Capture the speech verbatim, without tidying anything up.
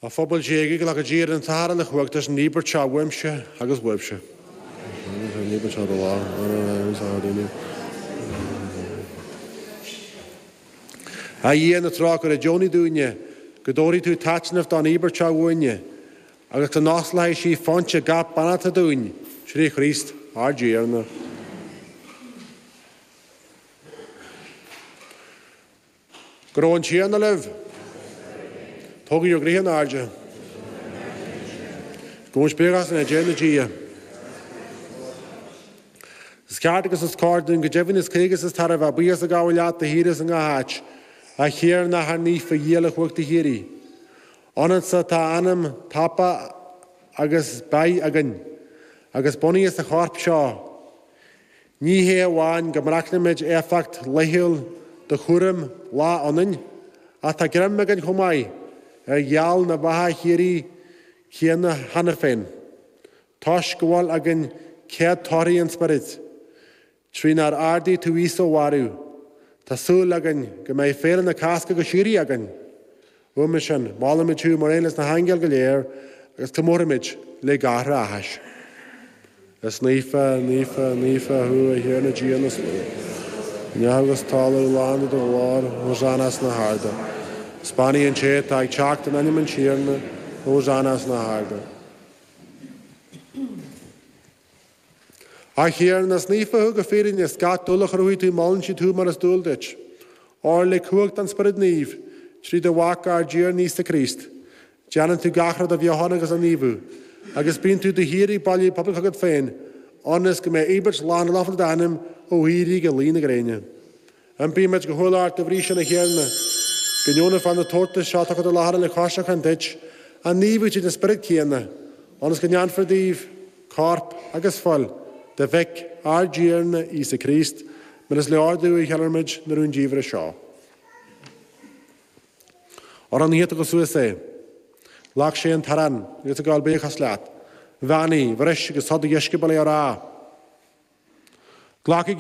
A phobal Dé, glacadh Dia an tAthair uilechumhachtach leis an íobairt seo uaimse agus uaibhse. An íobairt seo do lá. A Dhia na trócaire, deonaigh dúinne, go dtabharfaidh tú taitneamh don íobairt seo uainne, agus go n-osclóidh sí foinse gach beannachta dúinn, trí Chríost ár dTiarna. Go raibh an Tiarna libh. Tógaigí bhur gcroíthe in airde. Gabhaimis buíochas lenár dTiarna Dia. Is ceart agus is cóir dúinn go deimhin is cuí agus is tairbhe buíochas a ghabháil leat de shíor is i ngach áit, a Thiarna, a Athair Naofa, a Dhia uilechumhachtaigh de shíoraí. Ionatsa atá anam, tapa agus beatha againn, agus bunaithe sa chorp seo. Ní hé amháin go mbraitheann éifeacht laethúil do chúraim lá ionainn, ach tá greim againn chomh maith ar gheall na beatha shíoraí céanna cheana féin, toisc go bhfuil againn céadtorthaí an Spioraid, trínar ardaigh tú Íosa ó mhairbh. Tá súil againn go mbeidh féile na Cásca go síoraí againn. Uaime sin, molaimid thú mar aon leis na haingil go léir agus comóraimid le gáthra áthais. Is naofa, naofa, naofa thú, a Thiarna Dia na slua. Neamh agus talamh lán de do ghlóir, Hosanna sna harda. Is beannaithe an té atá ag teacht in ainm an Tiarna, Hosanna sna harda. A Thiarna, is naofa thú go fírinne, is gach dúil a chruthaigh tú molann siad thú mar is dual duit. Óir le cumhacht an Spioraid Naoimh, trí do Mhac ár dTiarna Íosa Críost, déanann tú gach rud a bheochan agus a naomhú, agus bíonn tú de shíor ag bailiú pobal chugat féin, ionas go mbeidh íobairt lán lofa d'ainm ó éirí go luí na gréine. Impímid go humhal ort dá bhrí sin, a Thiarna, go ndeonófá na tabhartais seo atá curtha i láthair le coisreacan duit, a naomhú tríd an Spiorad céanna, ionas go ndéanfar díobh corp agus fuil do Mhic ár dTiarna Íosa Críost, mar is le ordú a cheiliúraimid na rúndiamhra seo. Ar an oíche a tugadh suas é, ghlac sé an t-arán agus ag gabháil buíochas leat, bheannaigh, bhris agus thug dá dheisceabail é á rá, Glacaigí